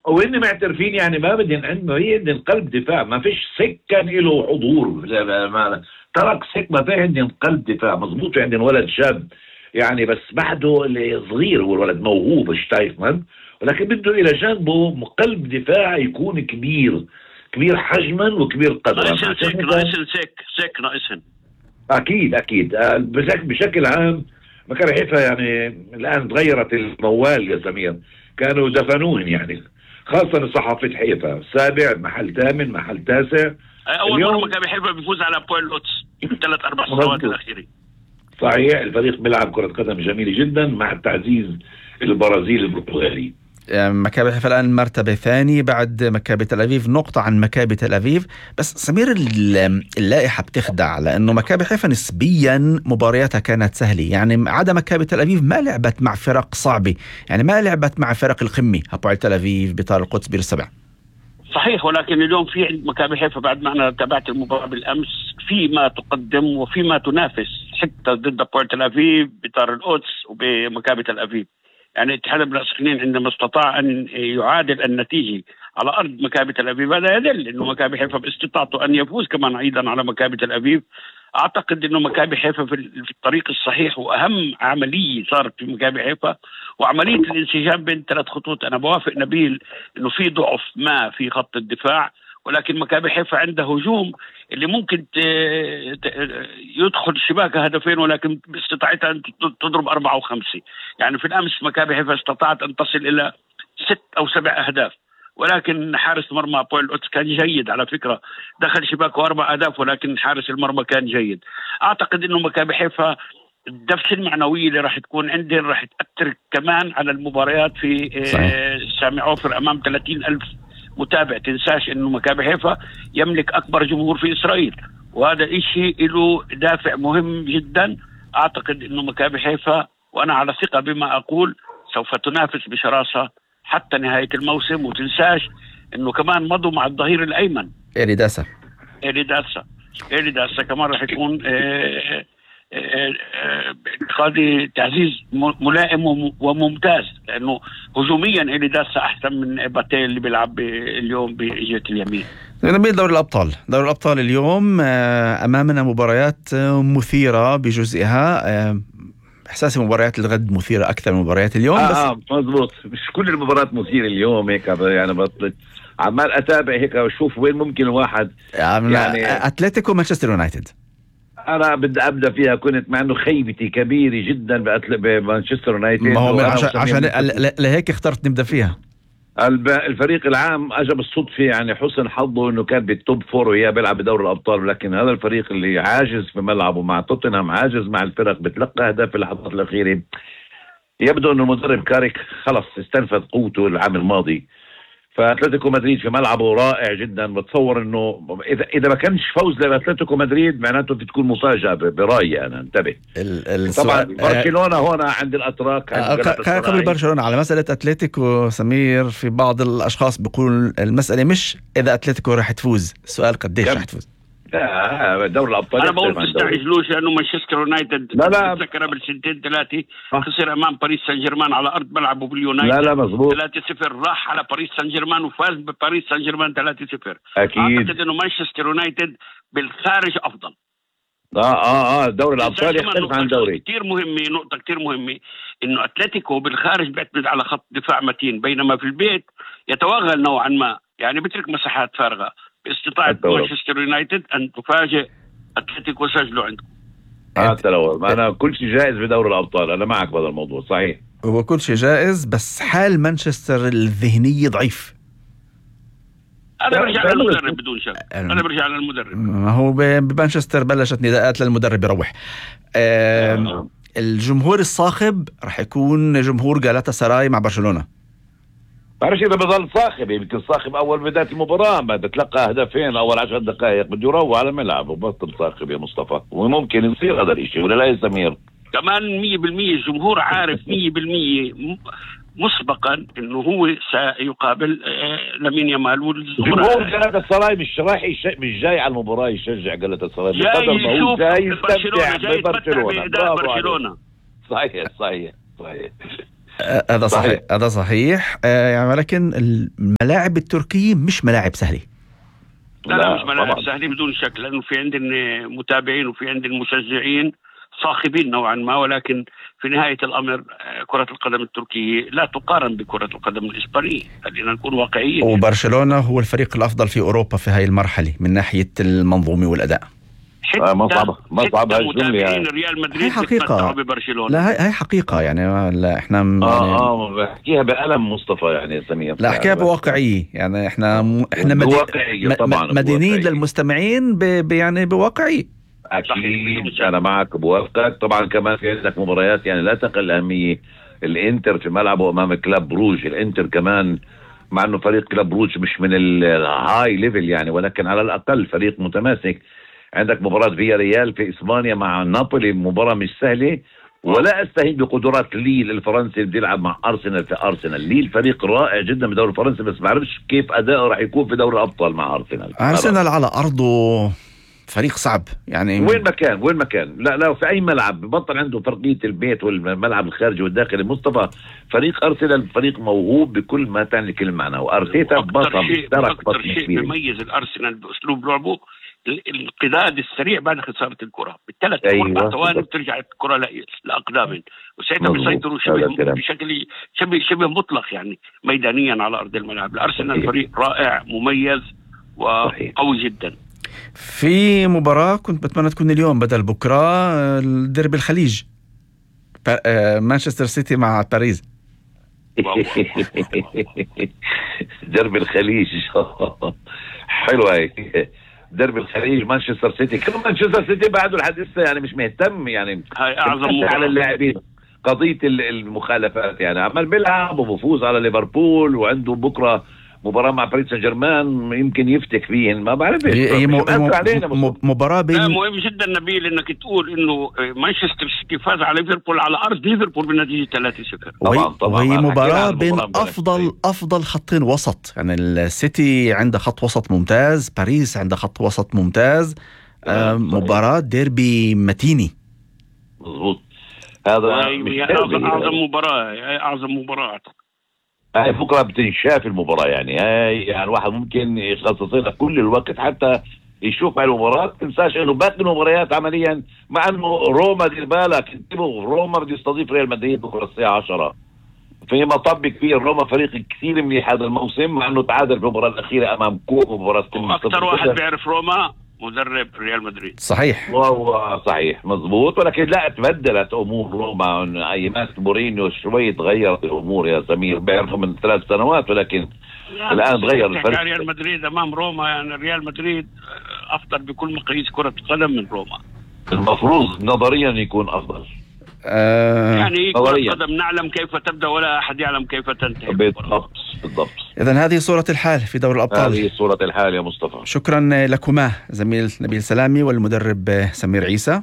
وهن معترفين يعني ما بدهن عنه، هي بدهن قلب دفاع، ما فيش سكن له حضور، ترك سك ما فيه، عندهم قلب دفاع مظبوط، عندهم ولد شاب يعني بس بعده اللي صغير، هو الولد موهوب شتايفمان، ولكن بده الى جانبه قلب دفاع يكون كبير حجما وكبير قدرا. ناقصهن اكيد بشكل عام مكان حيفا يعني الان تغيرت الموال يا سمير، كانوا دفنوهن يعني، خاصة صحافة حيفا، سابع محل ثامن محل تاسع. أول مرة مكابي حيفا بيفوز على بويل لوتس 3-4 سنوات الأخيرة. صحيح، الفريق بيلعب كرة قدم جميلة جدا مع التعزيز البرازيلي البرتغالي. مكابي حيفا الآن مرتبة ثاني بعد مكابي تل أبيب، نقطة عن مكابي تل أبيب. بس سمير اللائحة بتخدع، لأنه مكابي حيفا نسبيا مبارياتها كانت سهلة، يعني عدا مكابي تل أبيب ما لعبت مع فرق صعبة، يعني ما لعبت مع فرق القمة، هابوعل تل أبيب، بطار القدس، بير السبع. صحيح، ولكن اليوم في عند مكابي حيفا بعد ما أنا تابعت المباراة بالأمس في ما تقدم وفي ما تنافس حتى ضد هابوعل تل أبيب، بطار القدس وبمكابي تل أبيب. يعني اتحاد السخنين عندما استطاع أن يعادل النتيجة على أرض مكابي تل أبيب، هذا يدل أنه مكابي حيفا باستطاعته أن يفوز كمان أيضا على مكابي تل أبيب. أعتقد أنه مكابي حيفا في الطريق الصحيح، وأهم عملية صارت في مكابي حيفا وعملية الانسجام بين 3 خطوط. أنا بوافق نبيل أنه في ضعف ما في خط الدفاع، ولكن مكابي حيفا عنده هجوم اللي ممكن يدخل الشباك هدفين، ولكن باستطاعتها أن تضرب 4 و5. يعني في الأمس مكابي حيفا استطاعت أن تصل إلى 6 أو 7 أهداف، ولكن حارس مرمى بويل لوتس كان جيد على فكرة، دخل شباكه 4 أهداف، ولكن حارس المرمى كان جيد. أعتقد أنه مكابي حيفا الدفع المعنوية اللي راح تكون عندهم راح تأثر كمان على المباريات في سامي عوفر أمام 30,000 متابع. تنساش انه مكابي حيفا يملك اكبر جمهور في اسرائيل، وهذا اشي له دافع مهم جدا. اعتقد انه مكابي حيفا، وانا على ثقة بما اقول، سوف تنافس بشراسة حتى نهاية الموسم. وتنساش انه كمان مضوا مع الظهير الايمن إيريداسا كمان راح يكون باعتقادي تعزيز ملائم وممتاز، لأنه هجوميا إليداسا أحسن من باتيل اللي بيلعب اليوم بجهة اليمين. نبيل، دوري الأبطال اليوم أمامنا مباريات مثيرة بجزئها. إحساسي مباريات الغد مثيرة أكثر من مباريات اليوم. بس مضبوط، مش كل المباريات مثيرة اليوم هيك، يعني بطلت عمال أتابع هيك وأشوف وين ممكن الواحد يعني أتلتيكو مانشستر يونايتد. أنا بدي أبدأ فيها، كنت مع أنه خيبتي كبيرة جدا بمانشستر يونايتد، ما هو عشان لهيك اخترت نبدأ فيها. الفريق العام أجا بالصدفة، يعني حسن حظه أنه كان بالتوب 4 وياه بيلعب بدوري الأبطال، لكن هذا الفريق اللي عاجز في ملعبه مع توتنهام، عاجز مع الفرق، بتلقى أهداف في اللحظات الأخيرة. يبدو أنه المدرب كاريك خلص استنفذ قوته العام الماضي، فأتلتيكو مدريد في ملعبه رائع جدا. بتصور انه اذا ما كانش فوز لأتلتيكو مدريد معناته بتكون مفاجأة برأيي انا. انتبه، طبعا برشلونة هنا عند الاتراك. قبل برشلونة، على مسألة أتلتيكو سمير، في بعض الاشخاص بيقول المسألة مش اذا أتلتيكو راح تفوز، السؤال قديش راح تفوز. دوري الابطال انا بقول تستعجلوش، لانه مانشستر يونايتد تذكر قبل 2-3 خسر امام باريس سان جيرمان على ارض ملعبه باليونايتد. لا مظبوط 3-0، راح على باريس سان جيرمان وفاز بباريس سان جيرمان 3-0. اكيد اعتقد انه مانشستر يونايتد بالخارج افضل. دوري الابطال يختلف عن دوري. نقطة كتير مهمة انه اتلتيكو بالخارج بيعتمد على خط دفاع متين، بينما في البيت يتوغل نوعا ما، يعني بترك مساحات فارغة. باستطاعة مانشستر يونايتد أن تفاجئ أتلتيكو وسجلوا عندكم. أنا كل شيء جائز بدوري الأبطال، أنا معك بهذا الموضوع. صحيح، هو كل شيء جائز، بس حال مانشستر الذهنية ضعيف. أنا برجع للمدرب بدون شك. أنا برجع للمدرب. هو بمانشستر بلشت نداءات للمدرب يروح. الجمهور الصاخب رح يكون جمهور غالاتا سراي مع برشلونة. بعرفش إذا بضل صاخب، يمكن صاخب أول بداية المباراة، ما تتلقى هدفين أول 10 دقائق بده يروح على ملعب وبطل صاخب يا مصطفى. وممكن يصير هذا الشيء ولا لا يا سمير؟ كمان 100% الجمهور عارف 100% مسبقا إنه هو سيقابل لامين يامال. والجمهور غالاتا سراي مش جاي على المباراة يشجع غالاتا سراي، جاي يشوف برشلونة، جاي يتمتع بأداء برشلونة. صحيح هذا صحيح، هذا صحيح. يعني ولكن الملاعب التركية مش ملاعب سهلة. لا مش ملاعب سهلة بدون شك، لأنه في عندنا متابعين وفي عندنا مشجعين صاخبين نوعا ما، ولكن في نهاية الأمر كرة القدم التركية لا تقارن بكرة القدم الإسبانية، خلينا نكون واقعيين. وبرشلونة هو الفريق الأفضل في أوروبا في هاي المرحلة من ناحية المنظومة والأداء. ما صعب هالجملة يعني. ريال مدريد حقيقة ببرشلونة. لا هاي حقيقة يعني. لا احنا بحكيها بألم مصطفى يعني سمير. لا احكيها بواقعية يعني. احنا مدينين للمستمعين يعني بواقعية. أكيد أنا معك بوافقك. طبعا كمان في عندك مباريات يعني لا تقل أهمية. الإنتر في ملعبه أمام كلاب بروج. الإنتر كمان مع أنه فريق كلاب بروج مش من الهاي ليفل يعني، ولكن على الأقل فريق متماسك. عندك مباراة فيا ريال في إسبانيا مع نابولي، مباراة مش سهلة. ولا أستهين بقدرات ليل الفرنسي اللي بيلعب مع أرسنال في أرسنال. ليل فريق رائع جدا بدوري الفرنسي، بس ما بعرفش كيف أداؤه راح يكون في دوري الأبطال مع أرسنال على أرضه فريق صعب يعني. وين مكان لا في أي ملعب ببطل عنده فرقية البيت والملعب الخارجي والداخلي. مصطفى فريق أرسنال فريق موهوب بكل ما تعني كل معنى، وأرتيتا أكثر شيء بيميز الأرسنال بأسلوب لعبه الانقضاض السريع بعد خسارة الكرة بالثلاث أو 4 ثواني بترجع الكرة لأقدامهم، وساعتها بيسيطروا بشكل شبه مطلق يعني ميدانيا على أرض الملعب. الأرسنال فريق رائع مميز وقوي جدا. في مباراة كنت بتمنى تكون اليوم بدل بكرة، الديربي الخليج مانشستر سيتي مع باريس. درب الخليج حلوة هيك. درب الخليج مانشستر سيتي. كم مانشستر سيتي بعده لحد لسه يعني مش مهتم يعني. هاي أعظم على اللاعبين قضية المخالفات يعني. عمال بيلعب وبفوز على ليفربول، وعنده بكرة مباراة مع باريس سان جيرمان يمكن يفتك فيهن. ما بعرف مباراة مهم جدا نبيل انك تقول انه مانشستر سيتي فاز على ليفربول على ارض ليفربول بنتيجة 3-0. وهي مباراة بين افضل خطين وسط يعني. السيتي عنده خط وسط ممتاز، باريس عنده خط وسط ممتاز. مباراة ديربي متيني. مظبوط. هذا اعظم مباراة هاي بكرة بتنشاف المباراة يعني. هاي يعني الواحد ممكن يخصص لها كل الوقت حتى يشوف هاي المباراة. تنساش انه باقي المباريات عمليا، مع انه روما دير بالك انتبهوا، روما بده يستضيف ريال مدريد بكرة الساعة 10 في مطب كبير. روما فريق كثير منيح هذا الموسم، مع انه تعادل في المباراة الأخيرة امام كوبا مباراة. اكثر واحد بيعرف روما مدرب ريال مدريد. صحيح صحيح مزبوط. ولكن لا تبدلت امور روما. ايامات مورينيو شوي تغيرت الامور يا سمير، بيعرفوا من 3 سنوات، ولكن الان تغير الفرق. ريال مدريد امام روما يعني ريال مدريد افضل بكل مقاييس كرة القدم من روما. المفروض نظريا يكون افضل. يعني كرة القدم نعلم كيف تبدأ ولا أحد يعلم كيف تنتهي. بالضبط. إذن هذه صورة الحال في دوري الأبطال. هذه صورة الحال يا مصطفى. شكرا لكما زميل نبيل سلامي والمدرب سمير عيسى.